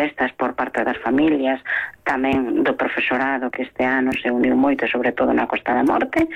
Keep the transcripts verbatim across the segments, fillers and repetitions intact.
protestas por parte das familias, tamén do profesorado que este ano se uniu moito, sobre todo na Costa da Morte.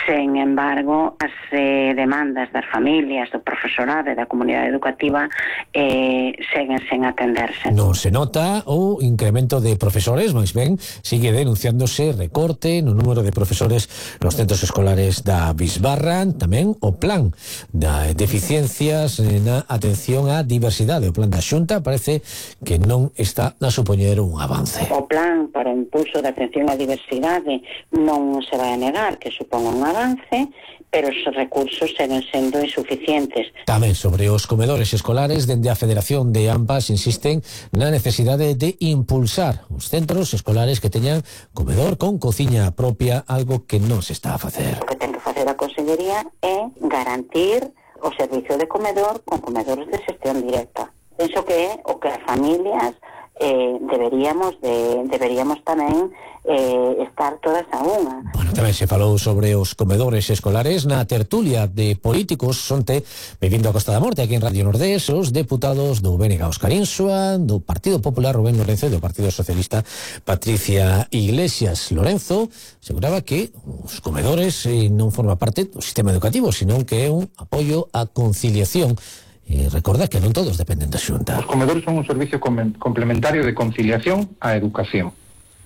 Sen embargo, as eh, demandas das familias, do profesorado e da comunidade educativa eh, seguen sen atenderse. Non se nota o incremento de profesores, máis ben, sigue denunciándose recorte no número de profesores nos centros escolares da Bisbarra, tamén o plan da deficiencias na atención á diversidade. O plan da Xunta parece que non está a supoñer un avance. O plan para o impulso da atención á diversidade non se vai a negar que supón un avance, pero os recursos seguen sendo insuficientes. Tamén sobre os comedores escolares, dende a Federación de AMPAs insisten na necesidade de impulsar os centros escolares que teñan comedor con cociña propia, algo que non se está a facer. O que ten que facer a Consellería é garantir o servicio de comedor con comedores de xestión directa. Penso que é o que as familias eh, deberíamos de, deberíamos tamén eh, estar todas a unha. Bueno, tamén se falou sobre os comedores escolares na tertulia de políticos onte, vivindo a Costa da Morte aquí en Radio Nordés, os deputados do B N G Óscar Insua, do Partido Popular Rubén Lorenzo e do Partido Socialista Patricia Iglesias. Lorenzo aseguraba que os comedores eh, non forma parte do sistema educativo, senón que é un apoio á conciliación. E recorda que non todos dependen da Xunta. Os comedores son un servicio complementario de conciliación á educación.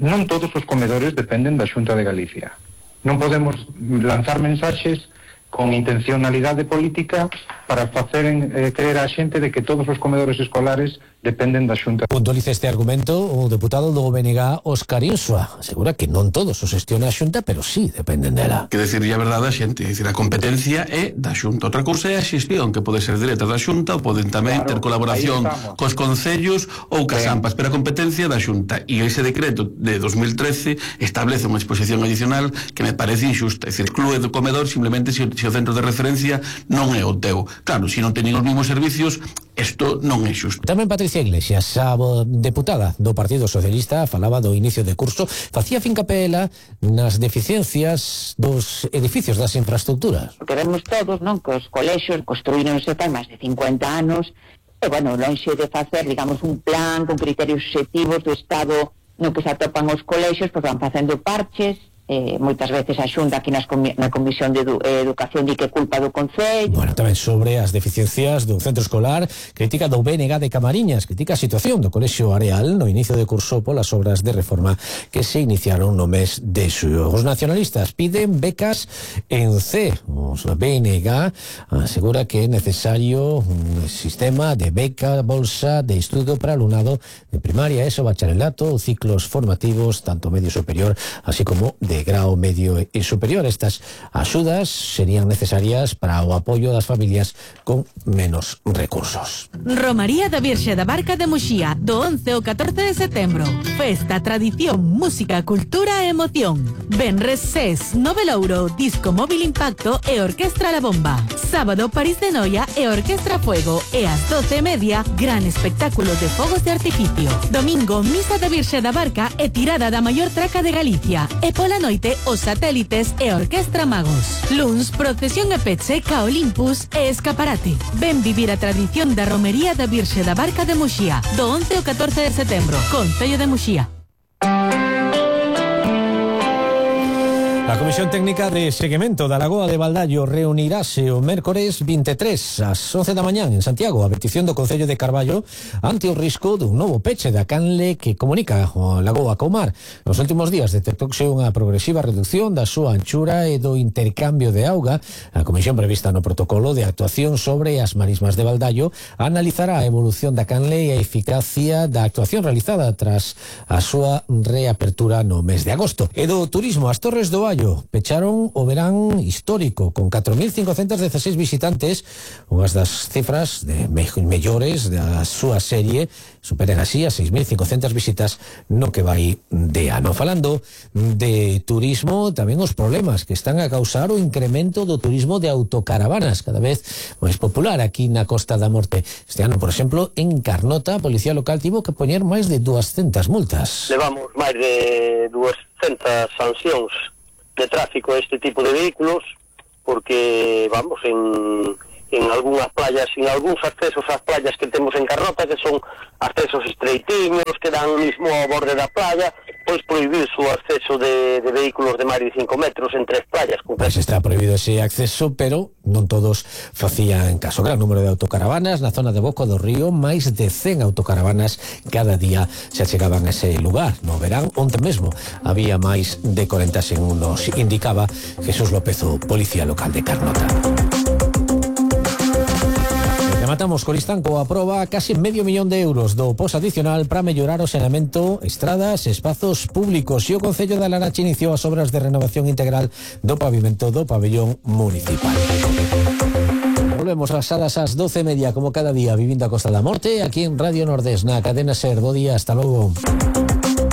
Non todos os comedores dependen da Xunta de Galicia. Non podemos lanzar mensaxes con intencionalidade política para facer eh, creer a xente de que todos os comedores escolares dependen da Xunta. Puntualiza este argumento o deputado do B N G Óscar Insua. Asegura que non todos os xestiona a Xunta, pero sí dependen dela. Que decirlle a verdade a xente, é dicir, a competencia é da Xunta. Outra cousa é a xestión, que pode ser directa da Xunta ou poden tamén claro, ter colaboración cos concellos ou cas AMPAs, pero a competencia da Xunta. E ese decreto de dos mil trece establece unha exposición adicional que me parece injusta. É dicir, exclúe do comedor simplemente se, se o centro de referencia non é o teu. Claro, se non teñen os mesmos servicios, isto non é xusto. Tamén Patricia Iglesias, a deputada do Partido Socialista, falaba do inicio de curso, facía fincapela nas deficiencias dos edificios das infraestructuras. Porque vemos todos, non, que os colexios construíronse fai máis de cincuenta anos, e, bueno, lonxe de facer, digamos, un plan con criterios obxectivos do Estado no que se atopan os colexios, pois van facendo parches. Eh, moitas veces a Xunta aquí nas comi na Comisión de edu Educación di que culpa do Concello. Bueno, tamén sobre as deficiencias do centro escolar, crítica do B N G de Camariñas, crítica a situación do Colexio Areal no inicio de curso polas obras de reforma que se iniciaron no mes de xullo. Os nacionalistas piden becas en C. Os B N G asegura que é necesario un sistema de beca, bolsa de estudo para alumnado de primaria, eso, bacharelato, ciclos formativos, tanto medio superior, así como de de grao medio e superior. Estas axudas serían necesarias para o apoio das familias con menos recursos. Romaría da Virxe da Barca de Muxía, do once ao catorce de setembro. Festa, tradición, música, cultura e emoción. Venres Ses, Novelouro, Disco Móvil Impacto e Orquestra La Bomba. Sábado, París de Noia e Orquestra Fuego. E ás doce e media, gran espectáculo de fogos de artificio. Domingo, Misa da Virxe da Barca e tirada da maior traca de Galicia. E pola noite, os satélites e Orquestra Magos. Luns, procesión e peche ca Olympus e escaparate. Ven vivir a tradición da Romería da Virxe da Barca de Muxía, do once ao catorce de setembro, Concello de Muxía. A Comisión Técnica de Seguimento da Lagoa de Baldaio reunirase o mércores vinte e tres ás once da mañán en Santiago a petición do Concello de Carballo ante o risco dun novo peche da canle que comunica a Lagoa co mar. Nos últimos días detectouse unha progresiva reducción da súa anchura e do intercambio de auga. A Comisión prevista no protocolo de actuación sobre as marismas de Baldaio analizará a evolución da canle e a eficacia da actuación realizada tras a súa reapertura no mes de agosto. E do turismo, as Torres do Allo pecharon o verán histórico con catro mil cincocentos dezasseis visitantes, unhas das cifras de me mellores da súa serie, superan así as seis mil cincocentas visitas no que vai de ano. Falando de turismo, tamén os problemas que están a causar o incremento do turismo de autocaravanas, cada vez máis popular aquí na Costa da Morte. Este ano, por exemplo, en Carnota, a Policía Local tivo que poñer máis de duascentas multas. Levamos máis de duascentas sancións de tráfico a este tipo de vehículos porque, vamos, en, en algunhas playas, en algúns accesos ás playas que temos en Carnota, que son accesos estreitiños, que dan mismo ao borde da playa, pois prohibir o acceso de, de vehículos de máis de cinco metros en tres playas. Pois está prohibido ese acceso, pero non todos facían caso. Gran número de autocaravanas na zona de Boca do Río, máis de cen autocaravanas cada día se achegaban a ese lugar. No verán, onte mesmo, había máis de corenta segundos, indicaba Jesús López, o policía local de Carnota. Rematamos Coristanco aproba casi medio millón de euros do pos adicional para mellorar o saneamento, estradas, espazos públicos, e o Concello da Laracha iniciou as obras de renovación integral do pavimento do pabellón municipal. Volvemos a salas ás doce e media como cada día, vivindo a Costa da Morte, aquí en Radio Nordés, na cadena SER. Bo día, hasta logo.